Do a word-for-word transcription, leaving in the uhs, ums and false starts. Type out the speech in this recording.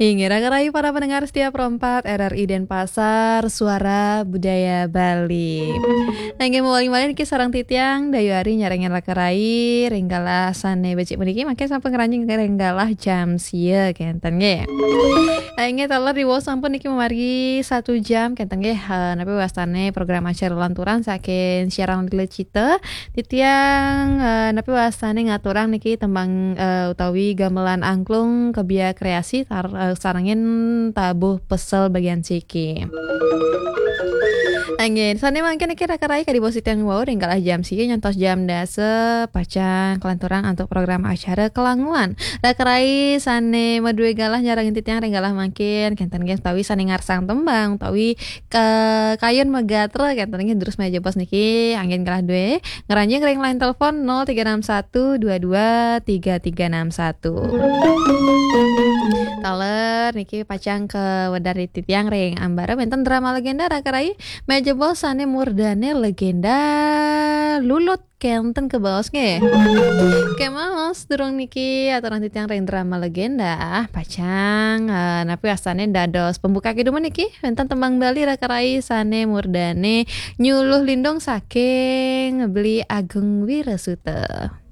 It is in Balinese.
Inggih, raka rai para pendengar setia Pro empat R R I Denpasar, Suara Budaya Bali. Nah, inggih, mawali malih niki sareng titiang Dayu Ari nyarengin raka rai ring galah sane becik puniki, mangkin sampun ngranjing ring galah jam sia kenten nggih. Nah, inggih, taler diwau sampun niki mamargi satu jam kenten nggih, eh, napi wastane program acara lanturan saking siaran Lila Cita. Titiang, eh, napi wastane ngaturang niki tembang, eh, utawi gamelan angklung Kebia Kreasi tar-, eh, sarengin Tabuh Pesel bagian siki. Nah, inggih, sane mangkin niki raka rai kadi bos titiang wau ring galah jam sia nyantos jam dasa pacang kalanturang antuk program acara Kelanguan. Raka rai sane madue galah nyarengin titiang ring galah mangkin kenten nggih utawi sane ngarsang tembang utawi ke kayun magatra kenten nggih terus meja bos niki anggen galah due ngranjing ring line telepon nol tiga enam satu dua dua tiga tiga enam satu. Taler niki pacang kawedar titiang ring ambara wenten drama legenda raka rai meja bos sane murdane legenda Lulut kenten kebaos nggih. Kemaos durung niki aturang titiang ring drama legenda pacang, eh, napi wastane dados pembuka kidung niki wenten tembang Bali raka rai sane murdane Nyuluh Lindung saking Beli Agung Wirasuta.